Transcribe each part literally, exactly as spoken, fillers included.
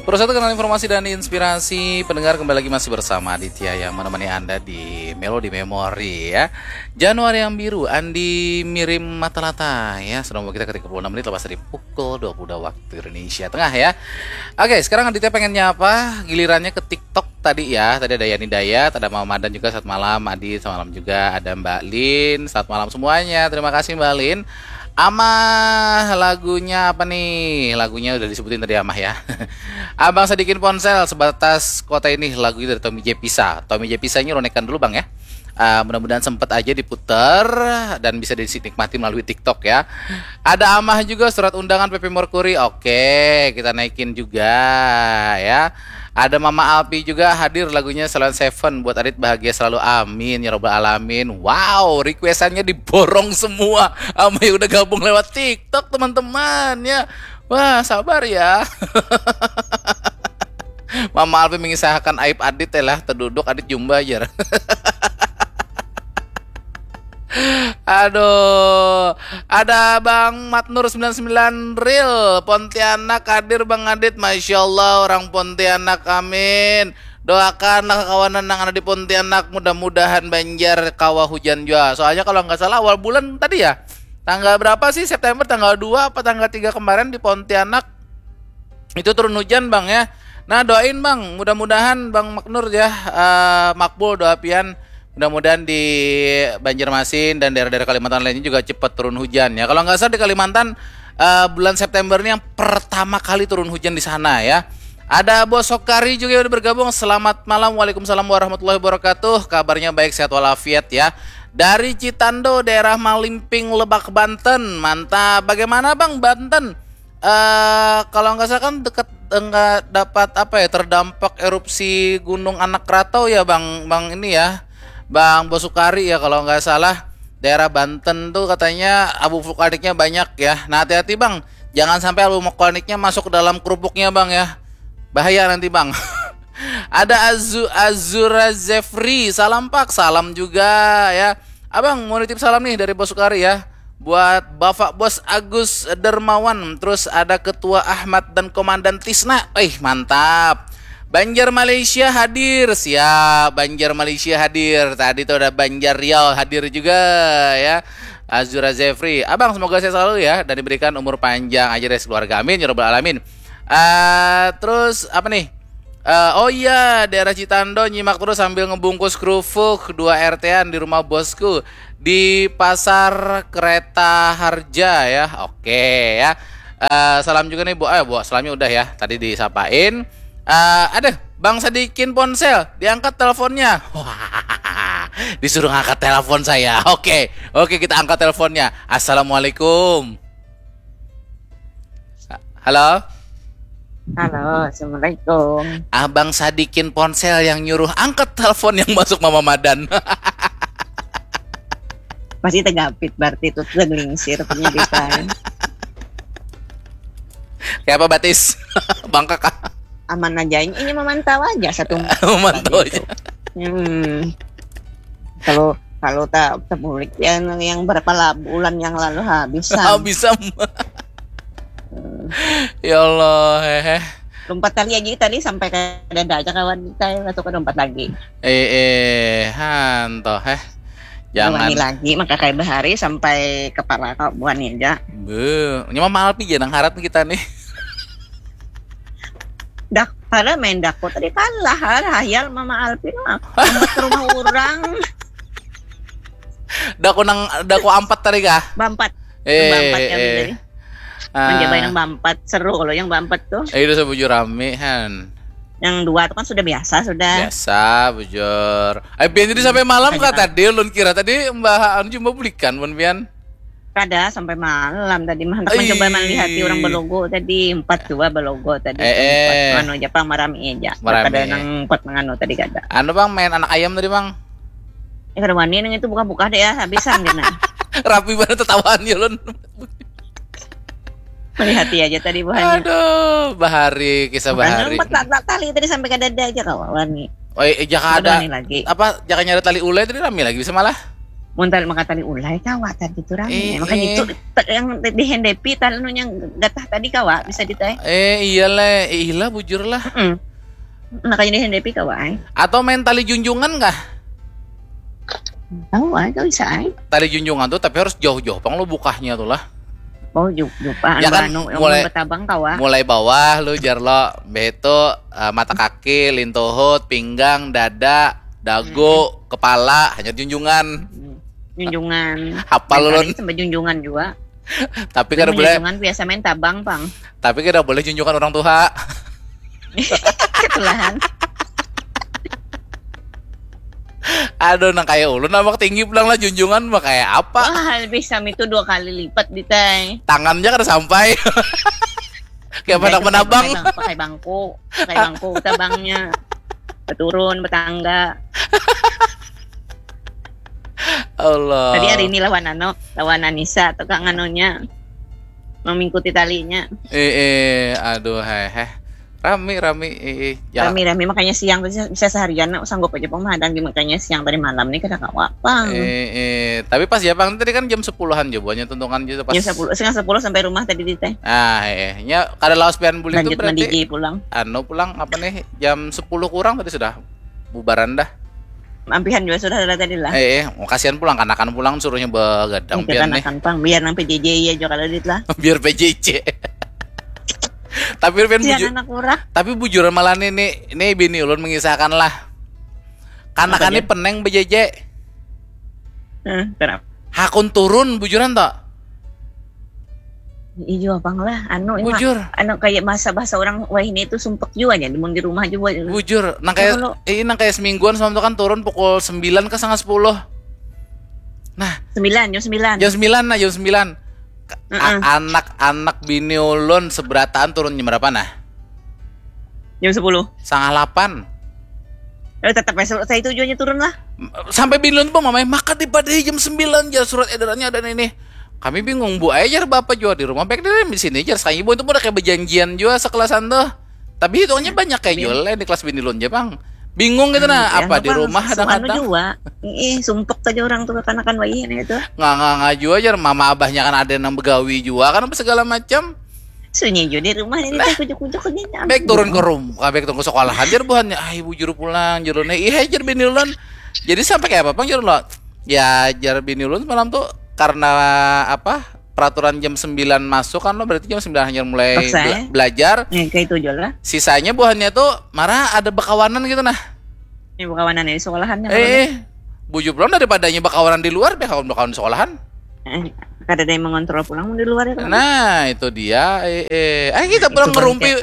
Terus satu kenal informasi dan inspirasi pendengar, kembali lagi masih bersama Aditya yang menemani Anda di Melody Memory ya. Januari yang biru, Andi Mirim Matalata ya, sudah membawa kita ke tiga puluh enam menit lepas dari pukul dua puluh dua waktu Indonesia Tengah ya. Oke, sekarang Aditya pengennya apa? Gilirannya ke TikTok tadi ya. Tadi ada Yani Dayat, ada Mama Madan juga, selamat malam Adit, selamat malam juga ada Mbak Lin, selamat malam semuanya, terima kasih Mbak Lin. Amah, lagunya apa nih? Lagunya udah disebutin tadi Amah ya. Abang Sadikin Ponsel, Sebatas Kota Ini, lagunya dari Tommy J Pisa. Tommy J Pisa ini ronekan dulu Bang ya. Uh, mudah-mudahan sempat aja diputar dan bisa dinikmati melalui TikTok ya. Ada Amah juga, Surat Undangan P P Mercury. Oke, kita naikin juga ya. Ada Mama Alpi juga hadir, lagunya Salon Seven, Buat Adit Bahagia Selalu, Amin ya Robbal Alamin. Wow, requestannya diborong semua sama yang udah gabung lewat TikTok, teman-teman ya. Wah, sabar ya. Mama Alpi mengisahkan aib Adit ya lah, terduduk Adit jumba aja. Aduh, ada Bang Matnur sembilan sembilan Real Pontianak hadir Bang Adit. Masya Allah, orang Pontianak, amin. Doakanlah kakawanan yang ada di Pontianak, mudah-mudahan Banjar kawa hujan jua. Soalnya kalau nggak salah awal bulan tadi ya, tanggal berapa sih, September tanggal dua apa tanggal tiga kemarin di Pontianak itu turun hujan Bang ya. Nah, doain Bang, mudah-mudahan Bang Maknur ya, uh, makbul doa pian. Mudah-mudahan di Banjarmasin dan daerah-daerah Kalimantan lainnya juga cepat turun hujan ya. Kalau nggak salah di Kalimantan uh, bulan September ini yang pertama kali turun hujan di sana ya. Ada Bos Sokari juga yang udah bergabung. Selamat malam, waalaikumsalam warahmatullahi wabarakatuh. Kabarnya baik, sehat walafiat ya. Dari Citando, daerah Malimping, Lebak, Banten. Mantap. Bagaimana Bang Banten? Uh, kalau nggak salah kan dekat nggak dapat apa ya, terdampak erupsi gunung anak krakatau ya Bang, Bang ini ya, Bang Bosukari ya kalau nggak salah, daerah Banten tuh katanya abu vulkaniknya banyak ya. Nah, hati-hati Bang, jangan sampai abu vulkaniknya masuk ke dalam kerupuknya Bang ya, bahaya nanti Bang. Ada Azu Azura Zefri, salam Pak, salam juga ya. Abang mau nitip salam nih dari Bosukari ya. Buat Bapak Bos Agus Dermawan, terus ada Ketua Ahmad dan Komandan Tisna. Eh, mantap. Banjar Malaysia hadir, siap. Banjar Malaysia hadir. Tadi tuh ada Banjar Riau hadir juga ya. Azura Zefri, abang semoga sehat selalu ya dan diberikan umur panjang aja dari keluarga, amin ya robbal alamin. Uh, terus apa nih? Uh, oh iya, daerah Citando nyimak terus sambil ngebungkus kerupuk dua R T-an di rumah bosku di Pasar Kereta Harja ya. Oke ya. Uh, salam juga nih Bu. Eh, Bu, salamnya udah ya. Tadi disapain. Uh, ada Bang Sadikin Ponsel, diangkat teleponnya. Disuruh ngangkat telepon saya. Oke, oke kita angkat teleponnya. Assalamualaikum. Halo. Halo, assalamualaikum. Abang Sadikin Ponsel yang nyuruh angkat telepon yang masuk Mama Madan. Masih tegapit berarti itu, teglingsir penyidikan. Kayak apa batis? Bangkak kah? Aman aja, ini memantau aja satu. Memantau aja. Hmm. Kalau kalau tak terbulik yang yang berapa bulan yang lalu habis. Habis. Ya Allah, hehe. Lompat tali aja tadi sampai ke dada aja kawan kita ya, masuk ke lompat lagi. Eh, eh, hanto, heh. Jangan lagi, maka kayak bahari sampai kepala kau buani aja. Be, nyaman malpi aja nang harat kita nih. Dak, pada main dako tadi kalah, hayal Mama Alpi mah. Ke rumah orang. Dako nang dako ampat tadi kah? Bampat. Eh, bampat ya eh. Menjabai yang bampat seru kalau yang bampat tuh. Eh, itu sebujur rame han. Yang dua tuh kan sudah biasa sudah. Biasa bujur. Eh, biar jadi sampai malam kah tadi? Lun kira tadi Mbak Anu cuma bulikan pun pian. Kada sampai malam tadi mah. Mencoba melihat orang belogo tadi, empat dua belogo tadi. Eh, eh. Anu aja pang marami aja. Marami. Kada nang empat menganu tadi kada. Anu bang main anak ayam tadi bang. Eh, kada wani nang itu buka-buka deh ya, habisan kena. Rapi banget tertawaan ya lun. Melihati aja tadi buhannya. Aduh, bahari kisah bahari. Empat tali tadi sampai ke dada aja kawan nih. Oh, eh, jaka ada lagi. Apa jakanya ada tali ulai tadi rame lagi bisa malah. Mun tali maka tali ulai kawa tadi tu rami. Eh, eh, makanya eh. Itu yang dihendepi tali nu yang gatah tadi kawa bisa ditai. Eh, iya le, eh, ilah bujur lah. Mm-mm. Makanya dihendepi kawa ai. Atau main tali junjungan kah? Tahu ai, kau bisa ai. Tali junjungan tuh tapi harus jauh-jauh pang lo bukahnya tuh lah. Oh, jupa. Ya kan, anu, mulai, betabang kawa. Mulai bawah lu jar lo, beto, uh, mata kaki, lintuhut, pinggang, dada, dagu, hmm. Kepala, hanya junjungan. Junjungan. Hafal lo sampai junjungan juga. Tapi kada boleh. Junjungan biasa main tabang pang. Tapi kada boleh junjungan orang tua. Ketulahan. Aduh, nang kayak ulun awak tinggi pulang lah junjungan mah kayak apa? Wah, lebih sami itu dua kali lipat di tai. Tangannya kada sampai. Kayak panak menabang. Pakai bangku, pakai bangku tabangnya. Beturun, betangga. Allah. Tadi hari ini lawan ano, lawan Anissa atau kang anonya. Mengikuti talinya. Eh, eh, aduh, heh, heh. Rami, rami, eh, eh. Ya. Rami, rami, makanya siang bisa, bisa seharian, nak sanggup aja pang mahadang di makanya siang tadi malam nih kada kawa pang. Eh, eh, tapi pas ya pang tadi kan jam sepuluhan aja buahnya tuntungan aja pas. Jam sepuluh, setengah sepuluh sampai rumah tadi di teh. Ah, eh, eh. Nya kada lawas pian bulik tuh berarti. Lanjut mandi pulang. Anu pulang apa nih jam sepuluh kurang tadi sudah bubaran dah. Ampihan juga sudah ada tadi lah. Eh, eh, kasihan pulang kanakan pulang suruhnya begadang pian nih. Kanakan pang biar nang P J J ya juga kalau dit lah. Biar P J J. Tapi Rupin bujur, anak murah. Tapi bujuran malah nih, nih, nih bini ulun mengisahkan lah. Kanakan ini peneng B J J. Hmm, kenapa? Hakun turun bujuran toh? Iya bang lah, anu bujur. Anu kayak masa bahasa orang wah ini itu sumpek juga ya, di rumah juga. Bujur, nang kayak ini nang kayak semingguan semalam tuh kan turun pukul sembilan ke setengah sepuluh. Nah, sembilan, jam sembilan. Jam sembilan nah, jam sembilan. Anak-anak bini ulun seberataan turun jam berapa nah? Jam sepuluh. Setengah delapan. Eh, tetap saya itu jualnya turun lah. Sampai bini ulun tuh mamai maka dipadahi jam sembilan jar surat edarannya ada ini. Kami bingung bu aja jar bapak jual di rumah baik dari di sini jar sekali ibu itu udah kayak berjanjian juga sekelasan tuh. Tapi hitungannya banyak kayak jual di kelas bini ulun aja bang. Bingung gitu nah, hmm, apa di rumah ada kadang. Anu juga. Ih, sumpek saja orang tuh kekanakan bayi ini itu. Nggak nggak nggak juga aja, mama abahnya kan ada yang begawi juga kan apa segala macam. Sunyi juga di rumah ini nah, teh kujuk-kujuk aja. Baik turun ke rumah, baik turun ke sekolahan aja buhannya. Ah, ibu juru pulang, juru nih. Iya, ajar bini ulun. Jadi sampai kayak apa, Bang, juru lo? Ya, ajar bini ulun semalam tuh karena apa? Peraturan jam sembilan masuk kan lo berarti jam sembilan hanya mulai bela belajar. Ya, kayak itu aja lah. Sisanya buhannya tuh marah ada bekawanan gitu nah. Ini bekawanan di sekolahannya. Eh, bujur pulang daripadanya bekawanan di luar, bekawan bekawan di sekolahan. Eh, kada ada yang mengontrol pulang di luar ya. Nah, itu dia. Eh, eh. Ayo kita pulang ngerumpi.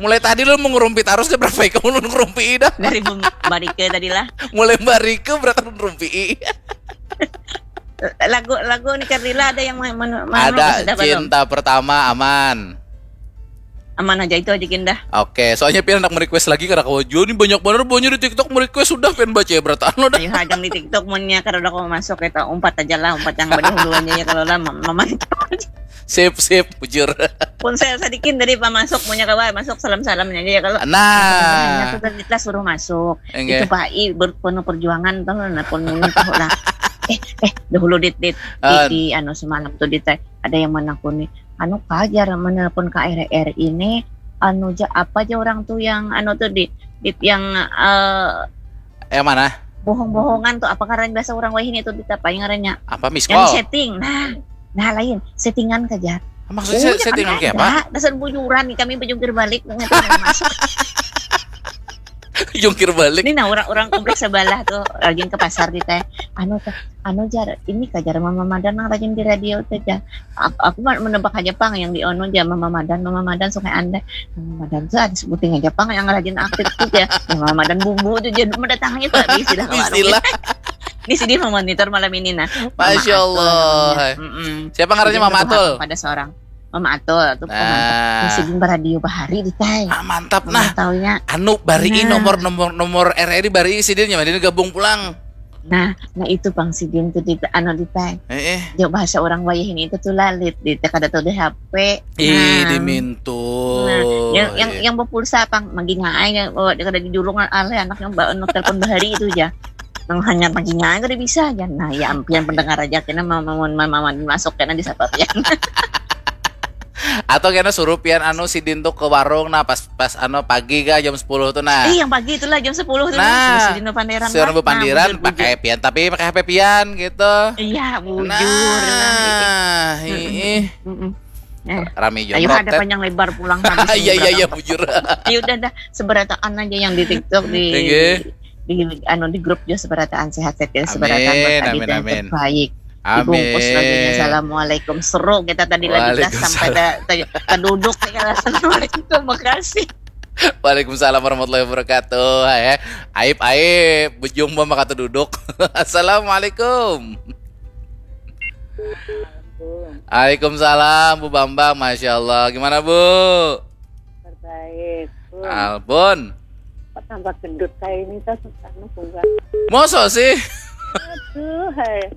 Mulai tadi lo mau ngerumpi terus deh berapa kamu ngerumpi dah. Dari barike tadi lah. Mulai barike berapa ngerumpi. Lagu-lagu nih Kardila ada yang mana ada cinta pertama aman. Aman aja itu aja kindah. Oke, soalnya pian anak merequest lagi karena kau jual nih banyak banget buahnya di TikTok merequest sudah pian baca ya berataan lo dah. Ayo hadang di TikTok munnya karena udah kau masuk kita umpat aja lah umpat yang berdahuluannya ya kalau lah mama. Sip sip bujur. Ponsel sadikin tadi pak masuk munnya kawa masuk salam salamnya aja ya kalau. Nah. Itu tadi kita suruh masuk. Enggak. Itu pak i berpenuh perjuangan tuh nah pun munnya tahu lah. Eh eh dahulu dit dit di, di anu semalam tuh dit ada yang menakuni anu kajar menelpon K R R ini anu ja apa aja orang tuh yang anu tuh di, di yang uh, yang mana bohong-bohongan tuh apa karena biasa orang wahini tuh di apa yang ngarannya apa miskol yang setting nah nah lain settingan kajar maksudnya oh, settingan kayak apa dasar bujuran nih kami berjungkir balik dengan jungkir balik ini nah orang orang kompleks sebelah tuh lagi ke pasar di teh anu tuh anu jar ini kajar mama madan nang rajin di radio tuh jar aku, aku menebak aja pang yang di ono jar mama madan mama madan sungai anda mama madan tuh ada sebuting aja pang yang rajin aktif tuh ya mama madan bumbu tuh jadi mendatangi tuh habis tidak istilah ini sih dia memonitor malam ini nah masya allah siapa ngarannya mama atul pada seorang Mama Atul tuh nah. Mantap. Sidin baradio bahari di tai. Ah, mantap nah. Taunya. Anu bari nah. Nomor nomor nomor R R I bari sidin nyaman gabung pulang. Nah, nah itu bang sidin tuh di anu di tai. Eh, eh. Jauh bahasa orang wayah ini itu tuh lalit di kada tahu di H P. Ih, nah. Dimintu. Nah, yang yang yang berpulsa pang manggingaai oh, dia kada didulung oleh anak yang bawa telepon bahari itu aja. Nang hanyar paginya kada bisa aja. Nah, ya pian pendengar aja kena mau mau mau mau masuk kena di sapa pian. Atau kena suruh pian anu sidin tuh ke warung, nah pas pas anu pagi kah jam sepuluh tuh nah. Eh, yang pagi itulah jam sepuluh tuh. Nah, Sidin panderan. Suruh bepandiran pakai pian tapi pakai H P pian gitu. Iya, bujur. Nah, ih. Mm-mm. Eh, Rame juga. Ayo ada panjang lebar pulang habis. Iya iya iya bujur. Ayo udah dah, seberataan aja yang di TikTok, di Oke. di anu, di grup juga seberataan, sehat-sehat ya, seberataan Amin, berkah amin, dan amin. terbaik. Dibungkus Amin. Lagunya assalamualaikum, seru kita tadi lagi dah Waalaikumsalam. Sampai dah, dah, dah duduk nih, assalamualaikum, makasih. Waalaikumsalam warahmatullahi wabarakatuh. Ya. Aib aib, bujung mah maka duduk. Assalamualaikum. Waalaikumsalam Bu Bambang, masya Allah. Gimana Bu? Terbaik. Albon. Kok tambah gendut kayak ini tuh, anu, bunga. Mosok sih? Aduh, hai.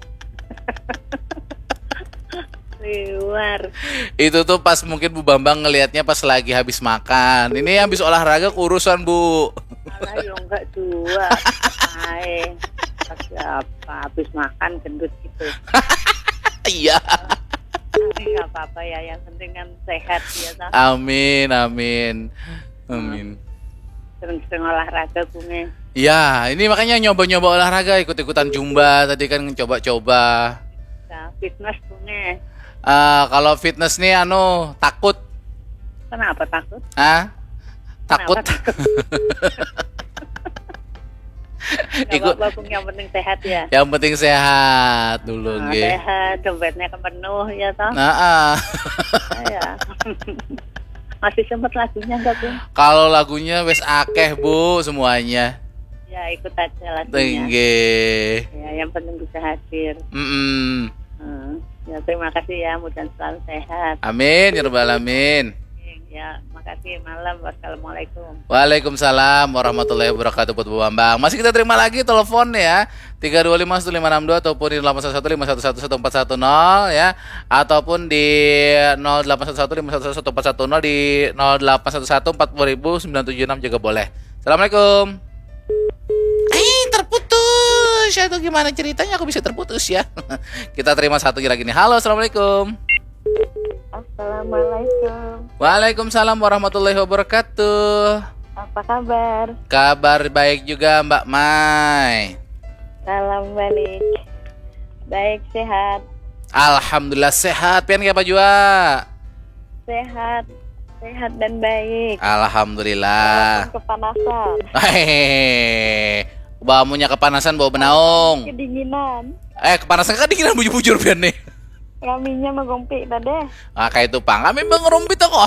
Liwar. Itu tuh pas mungkin Bu Bambang ngelihatnya pas lagi habis makan. Ini habis olahraga kurusan Bu. Alah, ya enggak juga. Hai. Siapa habis makan gendut gitu? Iya. Tapi nggak apa-apa ya, yang penting kan sehat ya toh. Amin, amin. Amin. Sering-sering olahraga, Bunge. Ya, ini makanya nyoba-nyoba olahraga, ikut-ikutan zumba tadi kan, coba-coba. Nah, fitness, Bunge. Eh, kalau fitness nih anu takut. Kenapa takut? Ah? Takut. Kenapa takut? Nggak Ikut. Apa-apa, Bung, yang penting sehat ya. Yang penting sehat dulu Nah, nggih. Sehat, dompetnya kan penuh ya toh. Nah, ah. Ya. Masih sempat lagunya nggak, Bung? Kalau lagunya wes akeh Bu semuanya. Ya, ikut aja lagunya. Tinggi. Ya, yang penting bisa hadir. Mm-mm. Hmm. Ya, terima kasih ya, mudah selalu sehat. Amin ya rabbal alamin. Ya, makasih, malam. Wassalamualaikum. Waalaikumsalam warahmatullahi wabarakatuh buat Bu Bambang. Masih kita terima lagi telepon ya. Tiga dua lima satu lima enam dua ataupun di delapan satu satu lima satu satu satu empat satu nol ya, ataupun di nol delapan satu satu lima satu satu satu empat satu nol, di nol delapan satu satu empat puluh ribu sembilan tujuh enam juga boleh. Assalamualaikum. Eh, terputus. Aduh, gimana ceritanya aku bisa terputus ya? Kita terima satu lagi nih. Halo, assalamualaikum. Assalamualaikum. Waalaikumsalam warahmatullahi wabarakatuh. Apa kabar? Kabar baik juga Mbak Mai. Salam balik. Baik, sehat. Alhamdulillah sehat. Pian apa jua? Sehat. Sehat dan baik. Alhamdulillah. Walaupun kepanasan. Hehehe. Bamunya kepanasan bawa benaung. Kedinginan. Eh, kepanasan kedinginan bujur-bujur pian nih. Raminya magompi tadi. Ah, kayak itu pang. Kami mengerumpi toko